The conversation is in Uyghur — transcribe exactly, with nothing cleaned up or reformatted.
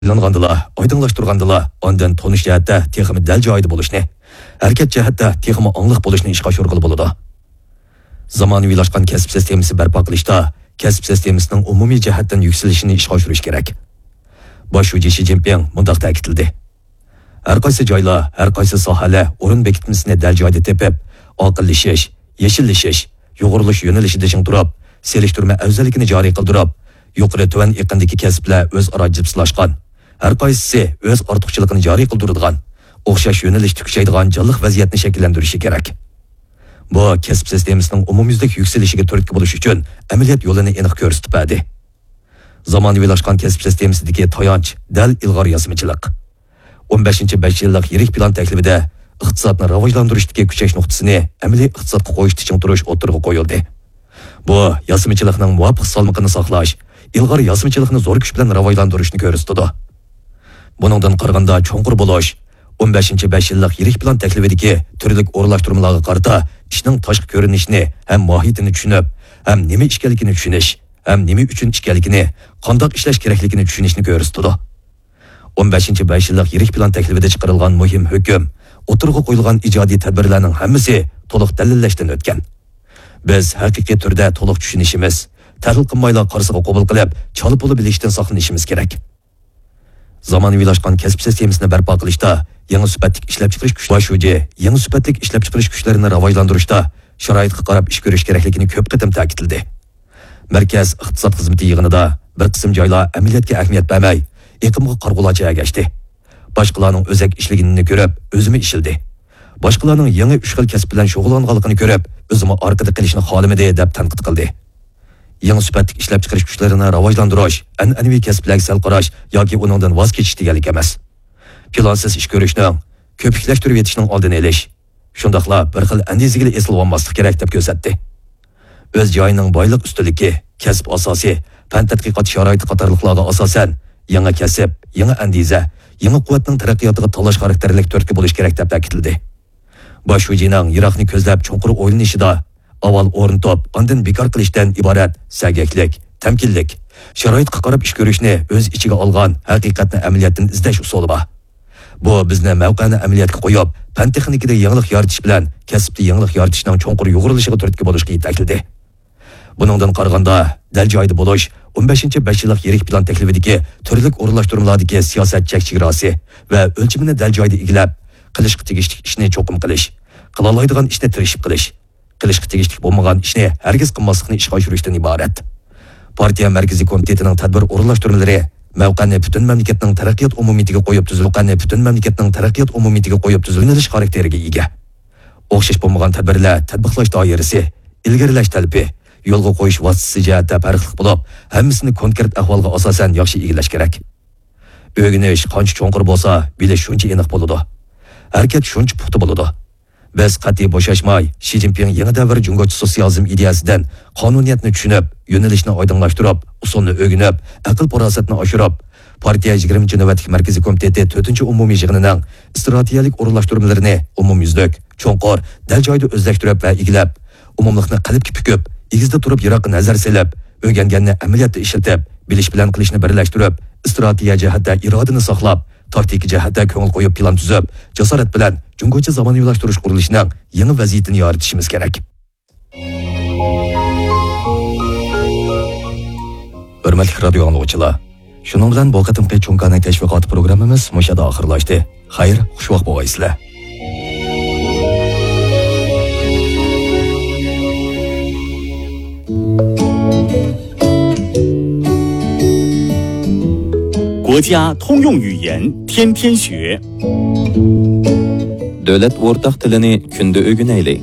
ئويلانغاندىلا، ئايدىڭلاشتۇرغاندىلا، ئاندىن تونۇش جەھەتتە تېخىمۇ دەل جايىدا بولۇشنى، ھەرىكەت جەھەتتە تېخىمۇ ئاڭلىق بولۇشنى ئىشقا ئاشۇرغىلى بولىدۇ. زامانىۋىلاشقان كەسىپ سىستېمىسى بەرپا قىلىشتا كەسىپ سىستېمىسىنىڭ ئومۇمىي جەھەتتىن يۈكسىلىشىنى ئىشقا ئاشۇرۇش كېرەك. باش شۇجى شى جىنپىڭ مۇنداق تەكىتلىدى: ھەر قايسى جايلار، ھەر قايسى ساھەلەر ئورۇن بېكىتمىسىنى دەل جايىدا تېپىپ، ئاقىللىشىش، يېشىللىشىش، يۇغۇرۇلۇش يۆنىلىشىدە چىڭ تۇرۇپ، سېلىشتۇرما ئەۋزەللىكىنى جارى قىلدۇرۇپ، يۇقىرى تۆۋەن ئېقىندىكى كەسىپلەر ئۆزئارا جىپسىلاشقان، ھەر قايسىسى ئۆز ئارتۇقچىلىقىنى جارى قىلدۇرىدىغان، ئوخشاش يۆنىلىشتە كۈچەيدىغان جانلىق ۋەزىيەتنى شەكىللەندۈرۈشى كېرەك. بۇ كەسىپ سىستېمىسىنىڭ ئومۇميۈزلۈك يۈكسىلىشىگە تۈرتكە بولۇش ئۈچۈن ئەمەلىيەت يولىنى ئېنىق كۆرسىتىپ بەردى. زامانىۋىلاشقان كەسىپ سىستېمىسىدىكى تايانچ دەل ئىلغار ياسىمىچىلىق. ئون بەشىنچى بەش يىللىق يىرىك پىلان تەكلىپىدە ئىقتىسادنى راۋاجلاندۇرۇشتىكى كۈچەش نۇقتىسىنى ئەمەلىي ئىقتىسادقا قويۇشتا چىڭ تۇرۇش ئوتتۇرىغا قويۇلدى. بۇ ياسىمىچىلىقنىڭ مۇۋاپىق سالمىقىنى ساقلاش، ئىلغار ياسىمىچىلىقنى زور كۈچ بىلەن راۋاجلاندۇرۇشنى كۆرسىتىدۇ. بۇنىڭدىن قارىغاندا، چوڭقۇر بولۇش، ئون بەشىنچى بەش يىللىق يىرىك پىلان تەكلىپىدىكى تۈرلۈك ئورۇنلاشتۇرمىلارغا قارىتا ئىشنىڭ تاشقى كۆرۈنۈشىنى ھەم ماھىيىتىنى چۈشىنىپ، ھەم نېمە ئىكەنلىكىنى چۈشىنىش، ھەم نېمە ئۈچۈن ئىكەنلىكىنى، قانداق ئىشلەش كېرەكلىكىنى چۈشىنىشنى كۆرسىتىدۇ. ئون بەشىنچى بەش يىللىق يىرىك پىلان تەكلىپىدە چىقىرىلغان مۇھىم ھۆكۈم، ئوتتۇرىغا قويۇلغان ئىجادىي تەدبىرلەرنىڭ ھەممىسى تولۇق دەلىللەشتىن ئۆتكەن. بىز ھەقىقىي تۈردە تولۇق چۈشىنىشىمىز، تەھلىل قىلمايلا قارىسىغا قوبۇل قىلىپ، چالا-پۇلا بىلىشتىن ساقلىنىشىمىز كېرەك. زامانىۋىلاشقان كەسىپ سىستېمىسىنى بەرپا قىلىشتا يېڭى سۈپەتلىك ئىشلەپچىقىرىش كۈچ-، باش شۇجى يېڭى سۈپەتلىك ئىشلەپچىقىرىش كۈچلىرىنى راۋاجلاندۇرۇشتا شارائىتقا قاراپ ئىش كۆرۈش كېرەكلىكىنى كۆپ قېتىم تەكىتلىدى. مەركەز ئىقتىساد خىزمىتى يىغىنىدا بىر قىسىم جايلار ئەمەلىيەتكە ئەھمىيەت بەرمەي، ئېقىمغا قارىغۇلارچە ئەگەشتى. باشقىلارنىڭ ئۆزەك ئىشلىگىنىنى كۆرۈپ، ئۆزىمۇ ئىشلىدى. باشقىلارنىڭ يېڭى ئۈچ خىل كەسىپ بىلەن شۇغۇللانغانلىقىنى كۆرۈپ، ئۆزىمۇ ئارقىدا قېلىشنى خالىمىدى، دەپ تەنقىد قىلدى. يېڭى سۈپەتلىك ئىشلەپچىقىرىش كۈچلىرىنى راۋاجلاندۇرۇش، ئەنئەنىۋى كەسىپلەرگە سەل قاراش ياكى ئۇنىڭدىن ۋاز كېچىش دېگەنلىك ئەمەس. پىلانسىز ئىش كۆرۈشنىڭ، كۆپۈكلەشتۈرۈۋېتىشنىڭ ئالدىنى ئېلىش، شۇنداقلا بىر خىل ئەندىزىگىلا ئېسىلىۋالماسلىق كېرەك، دەپ كۆرسەتتى. ئۆز جايىنىڭ بايلىق ئۈستۈنلۈكى، كەسىپ ئاساسى، پەن تەتقىقات شارائىتى قاتارلىقلارغا ئاساسەن، يېڭى كەسىپ، يېڭى ئەندىزە، يېڭى قۇۋۋەتنىڭ تەرەققىياتىغا تاللاش خاراكتېرلىك تۈرتكە بولۇش كېرەك، دەپ تەكىتلىدى. باش شۇجىنىڭ يىراقنى كۆزلەپ چوڭقۇر ئويلىنىشىدا ئاۋۋال ئورنىتىپ، ئاندىن بىكار قىلىشتىن ئىبارەت سەگەكلىك، تەمكىنلىك، شارائىتقا قاراپ ئىش كۆرۈشنى ئۆز ئىچىگە ئالغان ھەقىقەتنى ئەمەلىيەتتىن ئىزدەش ئۇسۇلى بار. بۇ بىزنى مەۋقەنى ئەمەلىيەتكە قويۇپ، پەن تېخنىكىدا يېڭىلىق يارىتىش بىلەن كەسىپتە يېڭىلىق يارىتىشنىڭ چوڭقۇر يۇغۇرۇلۇشىغا تۈرتكە بولۇشقا يېتەكلىدى. بۇنىڭدىن قارىغاندا، دەل جايىدا بولۇش، ئون بەشىنچى بەش يىللىق يىرىك پىلان تەكلىپىدىكى تۈرلۈك ئورۇنلاشتۇرمىلاردىكى سىياسەت چەك چېگراسى ۋە ئۆلچىمىنى دەل جايىدا ئىگىلەپ، قىلىشقا تېگىشلىك ئىشنى چوقۇم قىلىش، قىلالايدىغان ئىشنى تىرىشىپ قىلىش، قىلىشقا تېگىشلىك بولمىغان ئىشنى ھەرگىز قىلماسلىقنى ئىشقا ئاشۇرۇشتىن ئىبارەت. پارتىيە مەركىزىي كومىتېتىنىڭ تەدبىر ئورۇنلاشتۇرمىلىرى مەۋقەنى پۈتۈن مەملىكەتنىڭ تەرەققىيات ئومۇمىيىتىگە قويۇپ تۈزۈل-، مەۋقەنى پۈتۈن مەملىكەتنىڭ تەرەققىيات ئومۇمىيىتىگە قويۇپ تۈزۈلۈپ يۆنىلىش خاراكتېرىگە ئىگە. ئوخشاش بولمىغان تەدبىرلەر تەتبىقلاش دائىرىسى، ئىلگىرىلەش تەلىپى، يولغا قويۇش ۋاسىتىسى جەھەتتە پەرقلىق بولۇپ، ھەممىسىنى كونكرېت ئەھۋالغا ئاساسەن ياخشى ئىگىلەش كېرەك. ئۆگىنىش قانچە چوڭقۇر بولسا، بىلىش شۇنچە ئېنىق بولىدۇ. ھەرىكەت شۇنچە پۇختا بولىدۇ. بىز قەتئىي بوشاشماي، شى جىنپىڭ يېڭى دەۋر جۇڭگوچە سوتسىيالىزم ئىدىيەسىدىن قانۇنىيەتنى چۈشىنىپ، يۆنىلىشنى ئايدىڭلاشتۇرۇپ، ئۇسۇلنى ئۆگىنىپ، ئەقىل-پاراسەتنى ئاشۇرۇپ، پارتىيە يىگىرمىنچى نۆۋەتلىك مەركىزىي كومىتېتى تۆتىنچى ئومۇمىي يىغىنىنىڭ ئىستراتېگىيەلىك ئورۇنلاشتۇرمىلىرىنى ئومۇميۈزلۈك، چوڭقۇر، دەل جايىدا ئۆزلەشتۈرۈپ ۋە ئىگىلەپ، ئومۇملۇقنى قەلبكە پۈكۈپ، ئېگىزدە تۇرۇپ يىراققا نەزەر سېلىپ، ئۆگەنگەننى ئەمەلىيەتتە ئىشلىتىپ، بىلىش بىلەن قىلىشنى بىرلەشتۈرۈپ، ئىستراتېگىيە جەھەتتە ئىرادىنى ساقلاپ، تاكتىكا جەھەتتە كۆڭۈل قويۇپ پىلان تۈزۈپ، جاسارەت بىلەن جۇڭگوچە زامانىۋىلاشتۇرۇش قۇرۇلۇشىنىڭ يېڭى ۋەزىيىتىنى يارىتىشىمىز كېرەك. ھۆرمەتلىك رادىيو ئاڭلىغۇچىلار، شۇنىڭ بىلەن بۇ قېتىمقى چوڭ كاناي تەشۋىقاتى پروگراممىمىز مۇشۇ يەردە ئاخىرلاشتى. خەير، خۇشۋاق بولغايسىلەر. 国家通用语言，天天学。 دۆلەت ئورتاق تىلىنى كۈندە ئۆگىنەيلى.